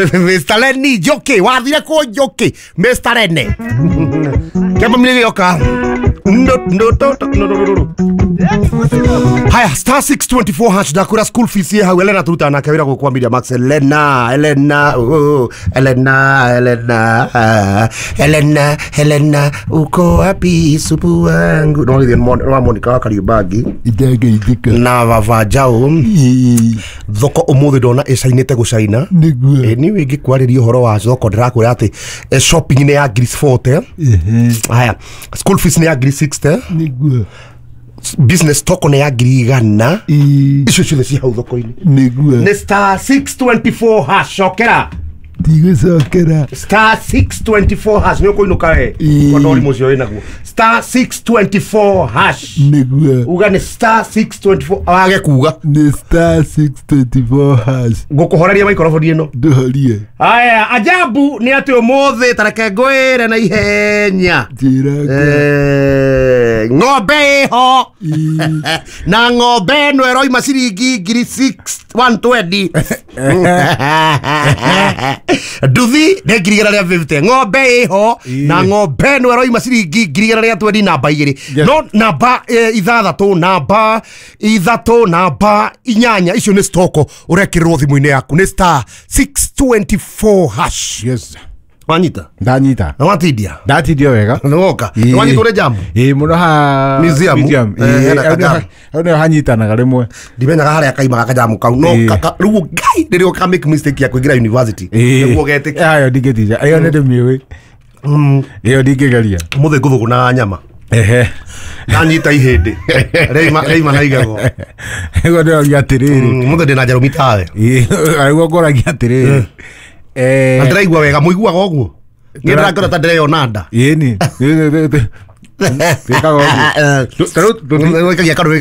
Mr. Lenny Njoki, wathire kũ Njoki? Mr. Lenny kĩamba mĩrĩ gĩoka. No, no, no, no, no, no, no. Haya, *624# ndakwĩra school fees ĩ hau. Elena tũrutaga nake wĩra gũkũ kwa Media Max. Elena, Elena, oh, Elena, Elena, ah, Elena, Elena, uko wapi supu wangu? No githĩ wa Monica wa Kariubangi Indangeithĩka. Na baba Njaũ. Thoko ũmũthĩ ndona ĩcainĩte gũcaina. Nĩguo. Niĩ ingĩkwarĩria ũhoro wa thoko, ndĩrakwĩra atĩ shopping nĩ ya ngiri 40. Haya, school fees nĩ ya ngiri 60. Business toko nĩ ya 100,000. Icio ciothe ci hau thoko-inĩ. Nĩ *624#, cokera. Ndigũcokera. *624# nĩ ũkũinũka we. Tondũ ũrimũ ũcio wĩnaguo, *624#. Uga nĩ *624, wage kuga. Nĩ *624#. Ngũkũhoreria maikoroboni ĩno. Ndũhorie. Aya, ajabu nĩ atĩ ũmũthĩ tareke ngwĩre na ihenya. Njĩra. Ng'ombe ĩho na ng'ombe ĩno ĩroima ciringi ngiri 120, nduthi nĩ 150,000. Ng'ombe ĩho na ng'ombe ĩno ĩroima ciringi 120,000, namba igĩrĩ. No namba ithathatũ, namba ithatũ, namba inyanya, icio nĩ stoko ũrekĩrĩrwo thimũ-inĩ yaku nĩ *624#. Wanyita? Ndanyita. Na watindia? Ndatindio wega. Nĩwoka nĩwanyitwo nĩ jamu? Ĩĩ, mũno ha Museum. Museum. Hena kajamu. Hau nĩho hanyitanaga rĩmwe. Ndimenyaga harĩa kaimaga kajamu kau no rĩu ngai rĩrĩa ũka make mistake ya kũingĩra university nĩguo ũgetĩkia. Ayo ndingĩtija, ĩyo nĩ ndĩmĩũĩ. Ĩyo ndingĩgeria. Ũmũthĩ ngũthũgũnaga nyama. Ndanyita ihĩndĩ reima reima na igego. Nĩguo ndĩroria atĩrĩrĩ. Ũmũthĩ ndĩna njarũmi tawe. Nĩguo ngũragia atĩrĩrĩ. Na ndĩraigua wega, mũiguaga ũguo niĩ ndĩrakora ta ndĩreyona nda. Ĩni twĩkaga ũguo. Ta rĩu Wĩkagia kanua.